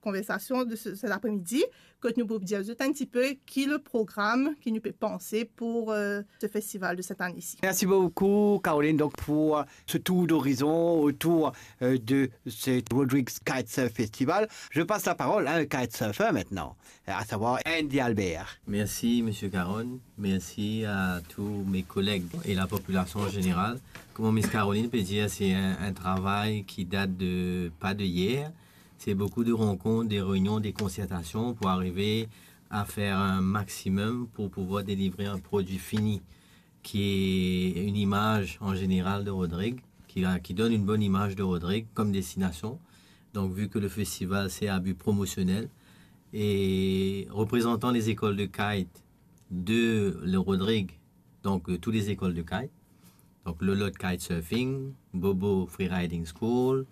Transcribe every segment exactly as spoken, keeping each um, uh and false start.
konversasion de se, set apremidi, kot nou pou dir zot enn tipe ki le program ki nou pe panse pou, euh, se festival de set ane isi. Merci beaucoup, Caroline, donc, pour, euh, ce tour d'horizon autour, euh, de ce Rodrigues Kitesurf Festival. Je passe la parole à un kitesurfer maintenant, à savoir Andy Albert. Merci, Monsieur Caron. Merci à tous mes collègues et la population en général. Comme Miss Caroline peut dire, c'est un, un travail qui date de, pas de hier. C'est beaucoup de rencontres, des réunions, des concertations pour arriver à faire un maximum pour pouvoir délivrer un produit fini qui est une image en général de Rodrigues, qui a, qui donne une bonne image de Rodrigues comme destination. Donc, vu que le festival, c'est à but promotionnel, et représentant les écoles de kite de le Rodrigues, donc de toutes les écoles de kite, donc Lolot Kitesurfing, Bobo Freeriding School,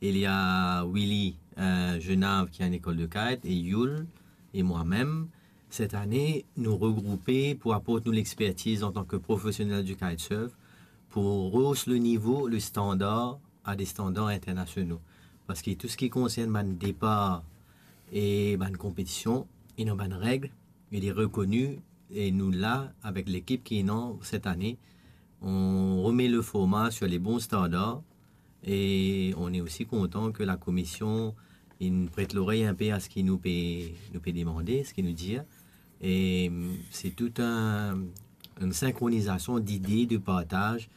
il y a Willy, euh, Genave qui a une école de kite, et Yul, et moi-même. Cette année, nous regrouper pour apporter nous l'expertise en tant que professionnels du kitesurf, pour rehausser le niveau, le standard à des standards internationaux. Parce que tout ce qui concerne bann départ et bann compétition, il y a bann règles, il est reconnu, et nous là, avec l'équipe qui est non cette année, on remet le format sur les bons standards, et on est aussi content que la commission, il prête l'oreille un peu à ce qui nous peut, nous peut demander, ce qui nous dit. Et, hum, c'est tout un, une synchronisation d'idées, de partage,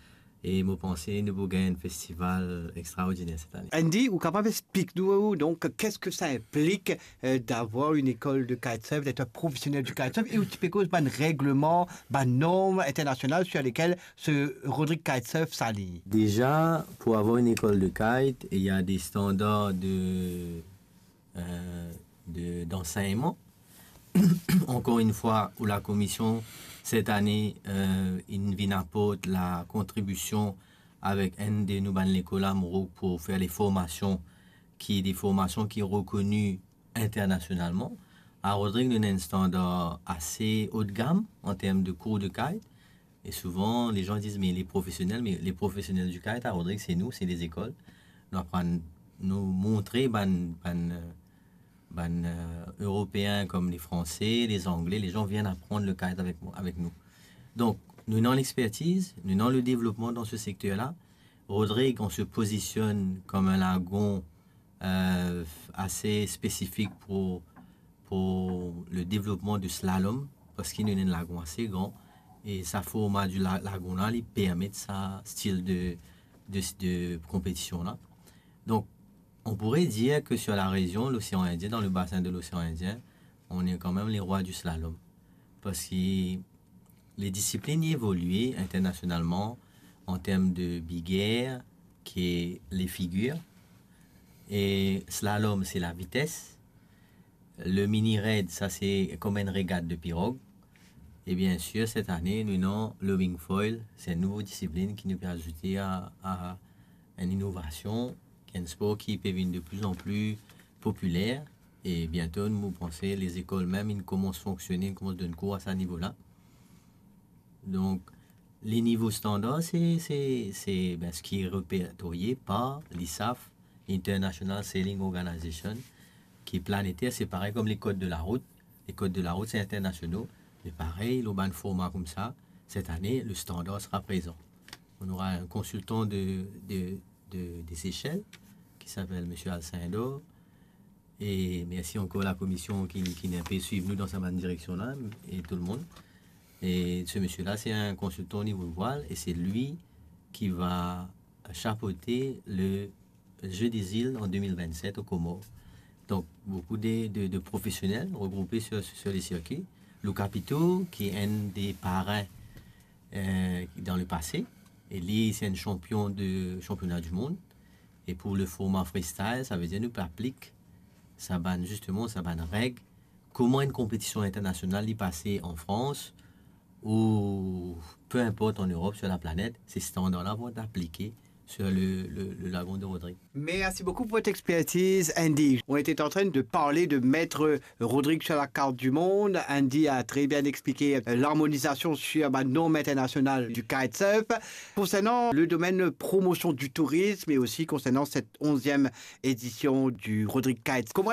e mo panse nou pou gagn enn festival extraordiner set ane. Andy, ou kapav explik nou, donc, qu'est-ce que ça implique, euh, d'avoir une école de kitesurf, d'être un professionnel du kitesurf, e ou ti pe koz bann regleman, bann norm internasional sur lesquelles ce Rodrigues Kitesurf s'aligne? Déjà, pour avoir une école de kite, il y a des standards de, euh, de, d'enseignement. Encore une fois, où la commission, cette année, euh, il vient apporter la contribution avec un de nos bann lekol Amourou pour faire les formations, qui est des formations qui est reconnues internationalement. À Rodrigues, nous avons un standard assez haut de gamme en termes de cours de kite. Et souvent, les gens disent, mais les professionnels, mais les professionnels du kite à Rodrigues, c'est nous, c'est les écoles. Nou aprann, nou montre bann, bann, euh, bann, euh, Européens comme les Français, les Anglais, les gens viennent apprendre le kite avec moi, avec nous. Donc, nous avons l'expertise, nous avons le développement dans ce secteur-là. Rodrigues, on se positionne comme un lagon, euh, assez spécifique pour, pour le développement du slalom, parce qu'il y a un lagon assez grand, et sa format du la-, lagon là, il permet sa style de, de, de compétition là. Donc, on pourrait dire que sur la région, l'océan Indien, dans le bassin de l'océan Indien, on est quand même les rois du slalom. Parce que les disciplines évoluent internationalement en termes de big air, qui est les figures. Et slalom, c'est la vitesse. Le mini raid, sa se kom enn regat de pirog. E bien sir, set ane, nou ena le wing foil, se enn nouvo disiplin ki nou pe azoute a, a enn inovasion, ki enn spor ki pe vinn de plus en plus popiler. E biento, nou panse, lezekol mem, inn koumans fonksione, inn koumans donn kour a sa nivo la. Donk, le nivo standar, se, se, se, ben, seki repertorie par l'ISAF, International Sailing Organization, ki planeter, se parey kom le kod de la rout. Le kod de la rout, se internasional, me parey, lor bann forma koumsa, set ane, le standar sera prezan. On aura un consultant de, de, de, des Seychelles, qui s'appelle Monsieur Alcindor. E mersi ankor la komision ki, ki inn pe swiv nou dan sa bann direksion la, e tou lemonn. E se misie la, se enn konsiltan o nivo vwal, e se li ki va chapote le Jeux des Îles en deux mille vingt-sept aux Comores. Donc, beaucoup de, de, de professionnels regroupés sur, sur les circuits. Lou Capito, qui est un des parrains, euh, dans le passé, e li, se enn chanpion de championnat du monde. E pou le forma freestyle, sa ve dir nou pe aplik sa bann, zisteman, sa bann reg, kouma enn konpetision internasional li pase an Frans, ou pe inport an Erop, sir laplanet, se standar la pou et aplike sir le, le, le lagon de Rodrig. Merci beaucoup pour votre expertise, Andy. On était en train de parler de mettre Rodrig sur la carte du monde. Andy a très bien expliqué, euh, l'harmonisation sur, bah, norme internationale du kitesurf. Concernant le domaine promotion du tourisme et aussi concernant cette onzième édition du Rodrig Kite, comment